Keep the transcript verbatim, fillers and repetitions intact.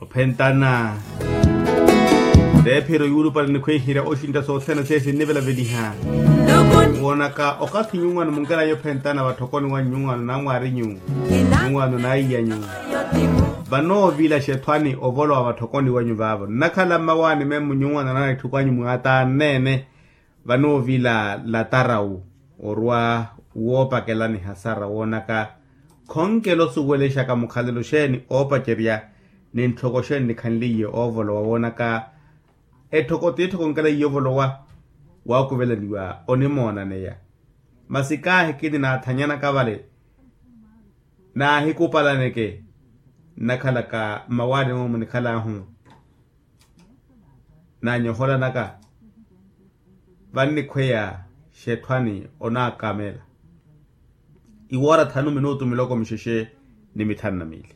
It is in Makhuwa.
Ophentana teephiro yuulupale nikhwiihirya oxintta sothene seiyo sinnivelaveliha. Woonaka okathi nyuwano munkelaya ophentana vatthokoni wa nyuwano namwaarinyu nyuwano naiyanyu vanoovilaxa ethwani ovolowa vatthokoni wanyu vaavo nnakhala mmawaani memmo nyuwano nana etthuku anyu mwaatanneene. Vanoovila latarawu orwa woopakelani hasara woonaka khonkela osuwelexaka mukhalelo xeeni oopacerya ni ntthoko xeeni nikhanliye oovolowa woonaka etthoko tiittho khonkela iye ovolowa waakuvelaniwa onimoonaneya. Masi kaahi kini naathanyanaka vale naahikupalaneke nnakhalaka mmawaani moomu nikhalaahu naanyoholanaka vannikhweya xetthwani onaakamela. Iwoora thanu minutu miloko mixexe ni mithanu na miili.